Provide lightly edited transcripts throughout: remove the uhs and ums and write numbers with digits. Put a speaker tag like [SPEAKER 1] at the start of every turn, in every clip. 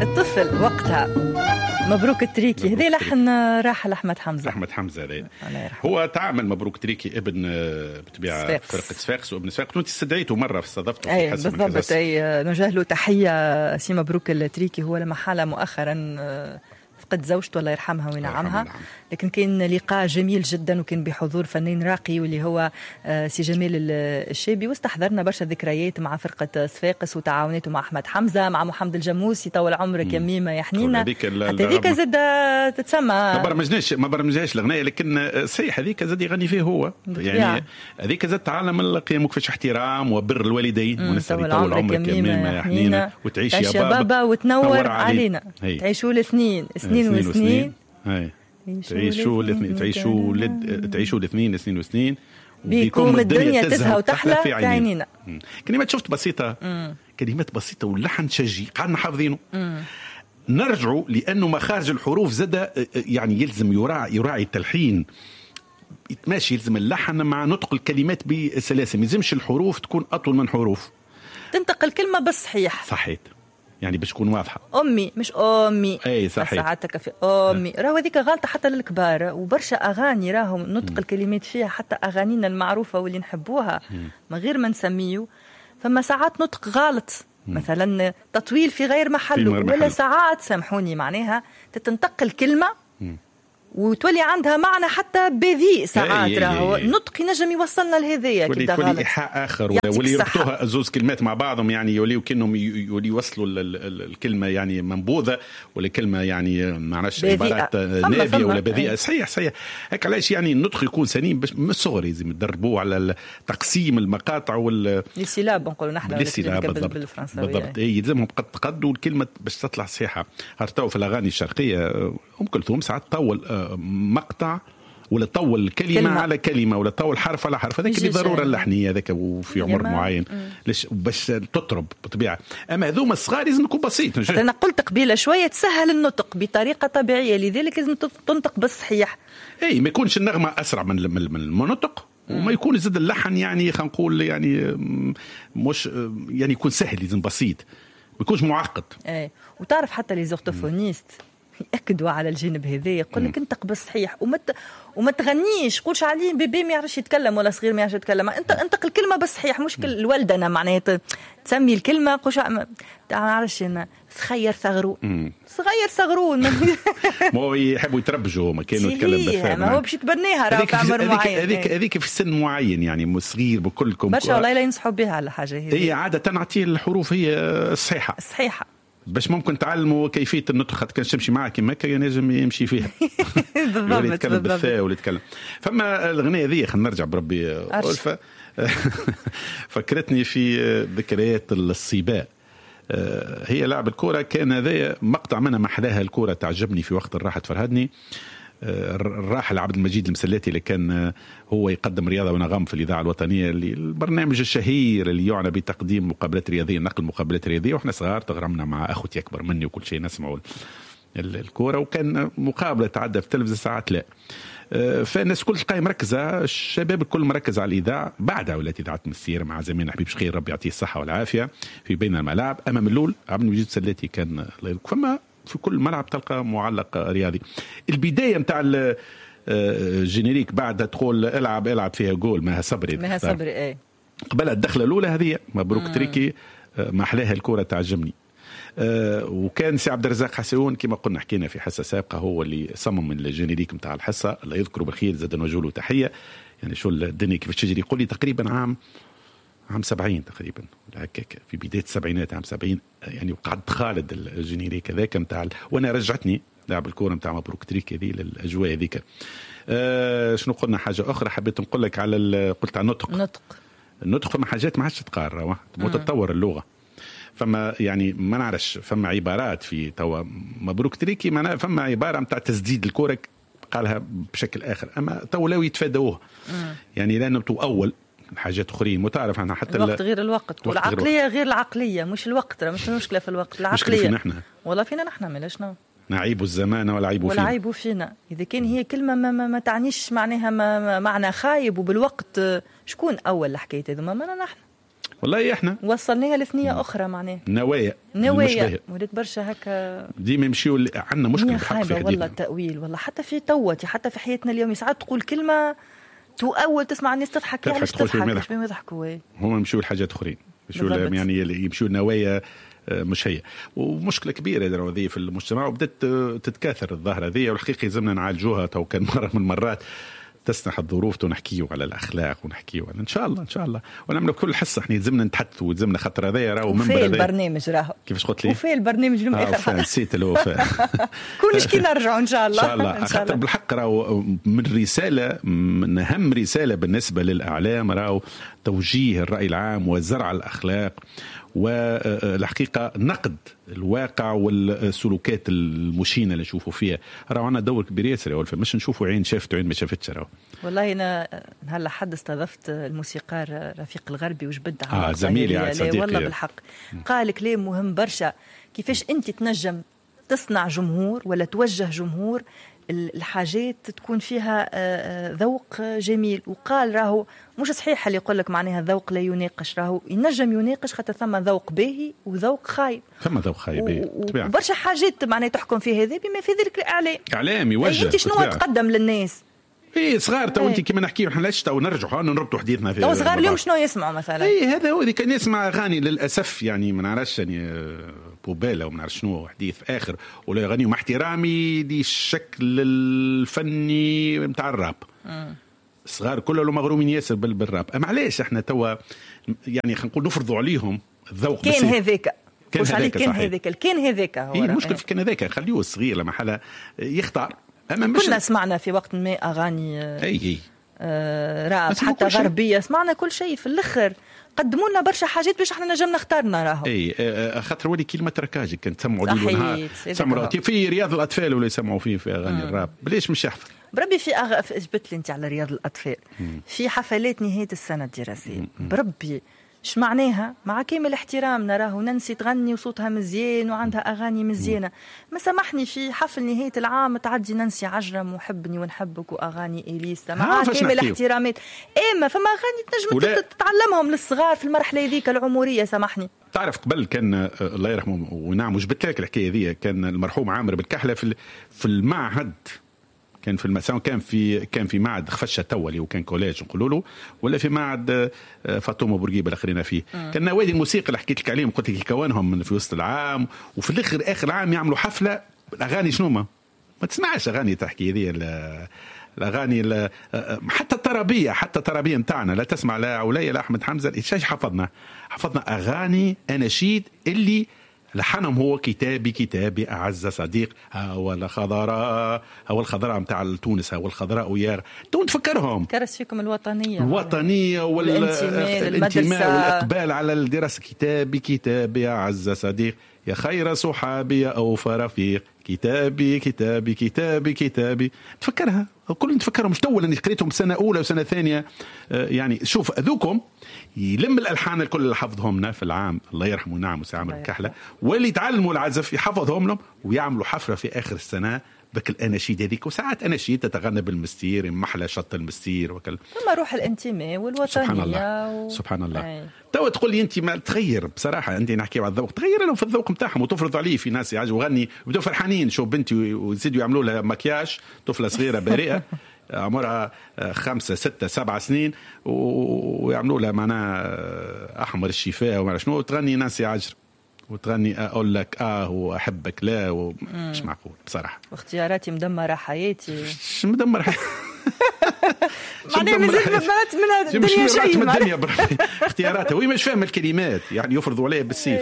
[SPEAKER 1] الطفل وقتها. مبروك التريكي، هذا لحن راحل احمد حمزه.
[SPEAKER 2] احمد حمزة هذا هو تعامل مبروك تريكي ابن بطبيعة فرقه صفاقس وابن صفاقس، وانت استدعيته مرة استضفته
[SPEAKER 1] في حصة. بالضبط، اي نوجه له تحية سي مبروك التريكي، هو لما حاله مؤخرا فقد زوجته الله يرحمها وينعمها، لكن كان لقاء جميل جدا وكان بحضور فنان راقي واللي هو سي جمال الشابي، واستحضرنا برشا ذكريات مع فرقة صفاقس وتعاوناته مع أحمد حمزة، مع محمد الجموسي طول عمرك يا ميمة يا حنينة. هذيك زاد تتسمى
[SPEAKER 2] ما برمجناش الأغنية، لكن صحيح هذيك زاد يغني فيه هو، يعني هذيك زاد تعلم القيم وكيفاش احترام وبر الوالدين،
[SPEAKER 1] ونسأل طول عمرك يا ميمة يا حنينة وتعيش يا بابا وتنور علينا، تعيشوا الاثنين سنين وسنين،
[SPEAKER 2] تعيشوا الاثنين، تعيشوا الاثنين سنين وسنين،
[SPEAKER 1] بيكم الدنيا تزهى وتحلى في عينينا.
[SPEAKER 2] كلمات شفت بسيطة، كلمات بسيطة واللحن شجي قعدنا حافظينه. نرجعوا لأنه مخارج الحروف زاد يعني يلزم يراعي التلحين، يتماشي، يلزم اللحن مع نطق الكلمات بسلاسة، ما يلزمش الحروف تكون أطول من حروف،
[SPEAKER 1] تنطق الكلمة بالصحيح.
[SPEAKER 2] صحيح، يعني باش تكون واضحة.
[SPEAKER 1] امي مش امي،
[SPEAKER 2] اي صحيح،
[SPEAKER 1] ساعاتك في امي، راهو هذيك غلطه حتى للكبار، وبرشا اغاني راهم نطق الكلمات فيها حتى اغانينا المعروفة واللي نحبوها من غير ما نسميه، فما ساعات نطق غلط، مثلا تطويل في غير محله، ولا ساعات سامحوني معناها تتنطق الكلمة وتولي عندها معنى حتى بذيء ساعات، راهو النطق ينجم يوصلنا لهذايا
[SPEAKER 2] كي تولي ايحاء اخر، واللي يربطوها زوز كلمات مع بعضهم، يعني يوليو كانهم يوصلوا الكلمة يعني منبوذه، ولا كلمة يعني ما عرفش عبارات نابيه ولا بذيئة. صحيح صحيح، هيك علاش يعني النطق يكون سليم باش من الصغر لازم تدربوه على تقسيم المقاطع وال
[SPEAKER 1] les syllabes نقولوا نحن بالفرنساويه.
[SPEAKER 2] بالضبط، اي يلزمهم قد قد والكلمة باش تطلع صحيحه. خاطر في الاغاني الشرقية ام كلثوم ساعات طول مقطع ولا طول كلمة على كلمة ولا طول حرف على حرف، هذاك اللي ضرورة اللحنية هذاك وفي عمر معين ليش باش تطرب بالطبيعة. أما هذوما الصغار لازم يكون بسيط.
[SPEAKER 1] أنا قلت قبيلة شوية تسهل النطق بطريقة طبيعية، لذلك لازم تنطق بالصحيح.
[SPEAKER 2] اي ما يكونش النغمة أسرع من النطق، وما يكون زاد اللحن يعني خلينا نقول يعني مش يعني يكون سهل، لازم بسيط ما يكونش معقد.
[SPEAKER 1] اي وتعرف حتى les orthophonistes يأكدوا على الجانب هذا، يقول لك انطق بالصحيح وما تغنيش، قولش عليه bébé ما يعرفش يتكلم ولا صغير ما يعرفش يتكلم، انت انطق الكلمة بالصحيح، مش الولدنه معناها تسمي الكلمة قولش ما نعرفش انا صغير صغرون، صغير صغرون.
[SPEAKER 2] ما هو يحبوا يتربجوا هما كانوا يتكلم بالثاء،
[SPEAKER 1] ما هو باش يتبناها راه في عمر معين،
[SPEAKER 2] هذيك في سن معين يعني صغير بكلكم
[SPEAKER 1] برشا والله لا ينصحوا بها على حاجة هذه.
[SPEAKER 2] هي عادة نعطيه الحروف هي الصحيحة
[SPEAKER 1] الصحيحة
[SPEAKER 2] باش ممكن تعلموا كيفية النطق، خاطر كان تمشي معاه كيما هكا ينجم يمشي فيها.
[SPEAKER 1] بالضبط،
[SPEAKER 2] يتكلم بالثاء ولا يتكلم. فما الاغنية هذه خلينا نرجع بربي ألفة فكرتني في ذكريات الصباء. هي لعب الكره، كان هذا مقطع منها محلاها الكره تعجبني في وقت الراحة تفرهدني. الراحل عبد المجيد المسلاتي اللي كان هو يقدم رياضة ونغم في الإذاعة الوطنية، اللي البرنامج الشهير اللي يعنى بتقديم مقابلات رياضية، نقل مقابلات رياضية، واحنا صغار تغرمنا مع أخوتي أكبر مني وكل شيء نسمعوا الكورة، وكان مقابلة تعدى في التلفزة ساعات لا. فالناس كل تلقاها مركزة، الشباب الكل مركز على الإذاعة. بعدها ولات إذاعة مسير مع زميلنا حبيب شخير ربي يعطيه الصحة والعافية في بين الملاعب. أما من الأول عبد المجيد المسلاتي كان فما في كل ملعب تلقى معلق رياضي. البداية نتاع ال générique بعد تقول العب العب فيها جول مها صبري،
[SPEAKER 1] مها صبري ايه
[SPEAKER 2] قبل الدخلة الاولى هذه مبروك تريكي ما احلاها الكره تعجبني. وكان سي عبد الرزاق حسون كما قلنا حكينا في حصة سابقه هو اللي صمم ال générique نتاع الحصة، الله يذكره بالخير زاد نوجه له تحية. يعني شو الدنيا كيف تجري، يقول لي تقريبا عام 70 تقريبا ولا هكاك في بداية السبعينات عام 70 يعني، وقعد خالد ال générique هذاك نتاع، وانا رجعتني لعب الكورة نتاع مبروك تريك هذه للاجواء هذيك. شنو قلنا حاجة اخرى حبيت نقول لك على قلت على النطق. النطق فما حاجات ما عادش تتقال، تتطور اللغة، فما يعني ما نعرفش فما عبارات في توا مبروك تريكي معناها فما عبارة نتاع تسديد الكورة قالها بشكل اخر، اما تو لو يتفادوه يعني لانه تو اول حاجات اخرين وتعرف احنا حتى
[SPEAKER 1] الوقت غير الوقت والعقلية غير العقلية، مش الوقت مش المشكلة في الوقت، العقلية
[SPEAKER 2] فينا احنا
[SPEAKER 1] والله فينا نحن مالاش
[SPEAKER 2] نعيب الزمان والعيب فينا،
[SPEAKER 1] والعيب فينا. اذا كان هي كلمة ما تعنيش معناها ما معنى خايب وبالوقت شكون اول الحكاية هذوما؟ ما نحن.
[SPEAKER 2] والله احنا
[SPEAKER 1] وصلناها لثنيه اخرى معناها
[SPEAKER 2] نوايا
[SPEAKER 1] ولات برشا هكا
[SPEAKER 2] ديما يمشيو. عندنا مشكلة بالحق في
[SPEAKER 1] والله التاويل، والله حتى في توتي، حتى في حياتنا اليوم ساعات تقول كلمة تؤول تسمع الناس تضحك، علاش تضحك؟ باش يضحكوا
[SPEAKER 2] هما يمشيو لحاجات اخرين، يعني يمشيو نوايا مش هي. ومشكلة كبيرة هذه في المجتمع وبدات تتكاثر الظاهرة هذه، والحقيقة يلزمنا نعالجوها. تو كان مرة من المرات تسنح الظروف ونحكيو على الاخلاق ونحكيو على ان شاء الله ان شاء الله ونعملوا كل حصة. احنا يلزمنا نتحدثوا ويلزمنا خاطر هذايا راهو
[SPEAKER 1] منبر البرنامج راهو.
[SPEAKER 2] كيفاش قلت لي؟
[SPEAKER 1] وفي البرنامج اليوم اخر
[SPEAKER 2] نسيت الوفاء.
[SPEAKER 1] كلش كي نرجعوا ان شاء الله
[SPEAKER 2] ان شاء الله، خاطر بالحق راهو من رسالة، من اهم رسالة بالنسبة للاعلام راهو توجيه الراي العام وزرع الاخلاق والحقيقة نقد الواقع والسلوكات المشينه اللي نشوفوا فيها. راهو عندنا دور كبير ياسر يا ولفة، مش نشوفوا عين شافت وعين ما شافتش. راهو
[SPEAKER 1] والله انا نهار لحد استضفت الموسيقار رفيق الغربي وجبد
[SPEAKER 2] على زميلي صديقي
[SPEAKER 1] والله بالحق قال كلام مهم برشا، كيفاش انت تنجم تصنع جمهور ولا توجه جمهور الحاجات تكون فيها ذوق جميل. وقال راهو مش صحيح اللي يقول لك معناها الذوق لا يناقش، راهو ينجم يناقش خاطر ثم ذوق باهي وذوق خايب،
[SPEAKER 2] ثم ذوق خايب
[SPEAKER 1] وبرشا حاجات معناها تحكم في هذا بما في ذلك الاعلام.
[SPEAKER 2] اعلام يوجه
[SPEAKER 1] انت شنو تقدم للناس؟
[SPEAKER 2] اي صغار تو انت كيما نحكيو احنا علاش تو نرجعوا نربطوا حديثنا في
[SPEAKER 1] تو صغار اليوم شنو يسمعوا مثلا؟
[SPEAKER 2] اي هذا هو اللي كان يسمع اغاني للاسف، يعني ما نعرفش يعني بوبالا وما نعرف شنو حديث اخر ولا يغني، مع احترامي للشكل الفني نتاع الراب. الصغار كلهم مغرومين ياسر بالراب. اما علاش احنا توا يعني خلينا نقول نفرضوا عليهم الذوق؟
[SPEAKER 1] كان هذاك كان هذاك كان هذاك هو
[SPEAKER 2] المشكل في كان هذاك، خليه الصغير لما حاله يختار.
[SPEAKER 1] أما مش كنا سمعنا في وقت ما أغاني
[SPEAKER 2] أي
[SPEAKER 1] راب حتى غربية، سمعنا كل شيء. في الآخر قدموا لنا برشا حاجات باش احنا نجم نختارنا راهو.
[SPEAKER 2] اي خاطر ولي كلمة تركاجي كان تسمعوا ليل ونهار، سمعوا في رياض الأطفال ولا يسمعوا فيه في أغاني الراب، ليش مش يحفظ؟
[SPEAKER 1] بربي في جبت لي أنت على رياض الأطفال في حفلات نهاية السنة الدراسية، بربي اش معناها؟ مع كامل احترامنا راهو نانسي تغني وصوتها مزيان وعندها اغاني مزيانه، ما سامحني في حفل نهاية العام تعدي نانسي عجرم وحبني ونحبك واغاني اليسا، مع كامل احترامات. اما فما اغاني تنجم تتعلمهم للصغار في المرحلة هذيك العمرية. سامحني
[SPEAKER 2] تعرف قبل كان الله يرحمه ونعم وجبت لك الحكاية هذه، كان المرحوم عامر بالكحله في المعهد، كان في المساء، كان في معهد خفشه توا اللي هو كان collège نقولوا له، ولا في معهد فاطمة بورقيبة اللي خرينا فيه. كان نوادي الموسيقى اللي حكيت لك عليهم، قلت لك يكونهم من في وسط العام، وفي الاخر اخر العام يعملوا حفلة الاغاني. شنو ما تسمعش اغاني تحكي هذه الاغاني حتى الطربيه، حتى الطربيه نتاعنا لا تسمع لا عليا لا احمد حمزة. ايش حفظنا؟ حفظنا اغاني اناشيد اللي لحنهم هو كتابي كتابي أعز صديق، هو الخضراء، هو الخضراء متاع تونس، هو الخضراء ويا تو نتفكرهم.
[SPEAKER 1] كرس فيكم الوطنية،
[SPEAKER 2] الوطنية والانتماء والإقبال على الدراسة. كتابي كتابي أعز صديق، يا خير صحابي يا أوفى رفيق، كتابي كتابي كتابي كتابي. تفكرها كل نتفكرهم، مش تو اللي قريتهم سنة أولى وسنة ثانية. يعني شوف أذوكم يلم الألحان الكل اللي حفظهم في العام الله يرحمه نعم وسي عامر الكحلة، واللي يتعلموا العزف يحفظهم لهم ويعملوا حفلة في آخر السنة بك الأناشيد هذيك. وساعات أناشيد تتغنى بالمستير، محلى شط المستير وكل.
[SPEAKER 1] ثم روح الانتماء والوطنية.
[SPEAKER 2] سبحان الله سبحان الله. تو تقول لي أنت ما تغير بصراحة، أنت نحكي على الذوق، تغير لهم في الذوق نتاعهم وتفرض عليه. في ناس يعجبوا غني وبدوا فرحانين، شوف بنتي ويزيدوا يعملوا لها مكياج، طفلة صغيرة بريئة عمرها 5 6 7 سنين، ويعملوا لها معناها أحمر الشفاء وما شنو، وتغني نانسي عجرم وتغني اقول لك واحبك لا مش معقول بصراحة.
[SPEAKER 1] واختياراتي مدمرة حياتي.
[SPEAKER 2] مش مدمرة حياتي
[SPEAKER 1] معناها مازال ما مرات من الدنيا شيء،
[SPEAKER 2] من الدنيا اختياراتها وهي مش فاهمه الكلمات، يعني يفرضوا عليها بالسيف.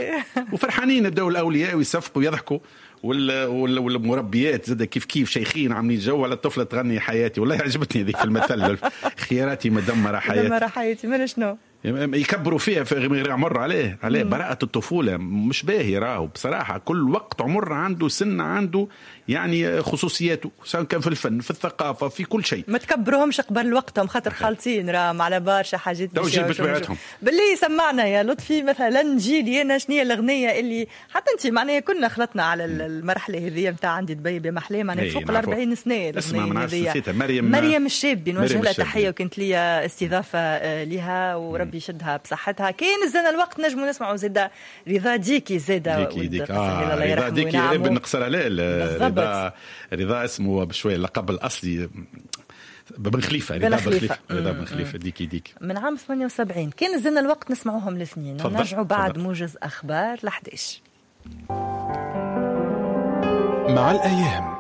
[SPEAKER 2] وفرحانين بداوا الاولياء ويصفقوا ويضحكوا، والمربيات زاد كيف كيف شيخين عاملين جو على الطفلة تغني حياتي. والله عجبتني هذيك المثل، اختياراتي مدمرة حياتي،
[SPEAKER 1] مدمرة حياتي. من شنو
[SPEAKER 2] يكبروا فيها في غير عمر عليه براءة الطفولة مش باهي راهو بصراحة. كل وقت عمر عنده سن، عنده يعني خصوصياته، سواء كان في الفن في الثقافة في كل شيء.
[SPEAKER 1] ما تكبرهمش قبل وقتهم خاطر خالطين راهم على برشا حاجات.
[SPEAKER 2] بطبيعتهم
[SPEAKER 1] باللي سمعنا يا لطفي مثلا جيلي انا شنو هي الأغنية اللي حتى انت معناها كنا خلطنا على المرحلة هذه نتاع عندي دبي بمحلاه، معناها فوق ال 40 سنة الأغنية هذه.
[SPEAKER 2] مريم الشابي
[SPEAKER 1] نوجه لها تحية، وكانت لي استضافة لها وربي ربي يشدها بصحتها. كاين زاد الوقت نجموا نسمعوا زاد رضا ديكي زاد.
[SPEAKER 2] ديكي ديك رضا ديكي بن قصر عليه. رضا اسمه بشوية اللقب الاصلي بن خليفة، رضا بن خليفه، رضا بن خليفة ديكي ديكي
[SPEAKER 1] من عام 78. كان زلنا الوقت نسمعوهم الاثنين ونرجعوا بعد موجز اخبار ل 11.
[SPEAKER 3] مع الايام.